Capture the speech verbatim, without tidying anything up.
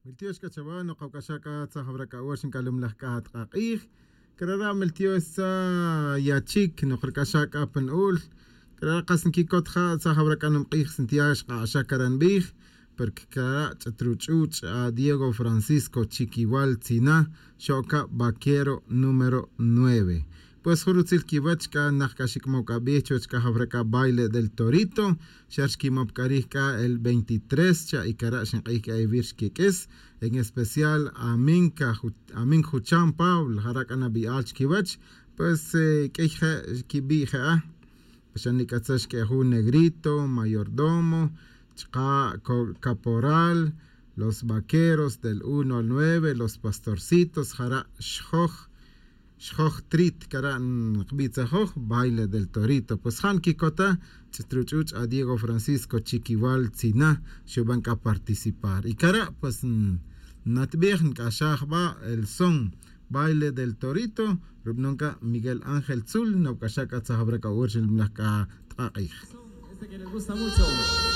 Miltiox c'a chawa nokawc'axa c'a tzajawra c'a wach nc'alumlaj c'a atk'ak'ij. Crara' miltiox tza yachik nokrac'axa c'a pa nu'ul. Crara' kas nquicot ja tzajawra c'a numk'ij sintia xk'ak'axa cara' nbij. Porque crara' ch'at ruch'uch' a diego francisco chiquiwal tzina, xo'ca vaquero número nueve. Pues jun rutzil quiwach c'a nak c'a xic'mow c'a bij chuwech c'a jawra c'a baile del torito. Xa xquimop c'a rij c'a el veintitrés cha' y cara' xink'ij c'a ewir xquiq'uis. En especial amin ca amin jucham pablo jara' c'a nabi'al chiquiwech. Pues q'uiy je' quibi' je'a. Pues xa nic'atza xq'ue' jun negrito mayordomo, chka' caporal, los vaqueros del uno al nueve, los pastorcitos jara' xjoj xjoj trit cara' nkbitza joj baile del torito pues ja' nkikota. Ch'it ruch'uch' a diego francisco chiquiwal tzina xuban c'a participar y cara' pues natbij nc'axaj ba el son baile del torito. Rubanon c'a miguel ángel tzul nabc'axa c'a tzajawra c'a ur xilmlaj c'a tk'ak'ij. Este que les gusta mucho.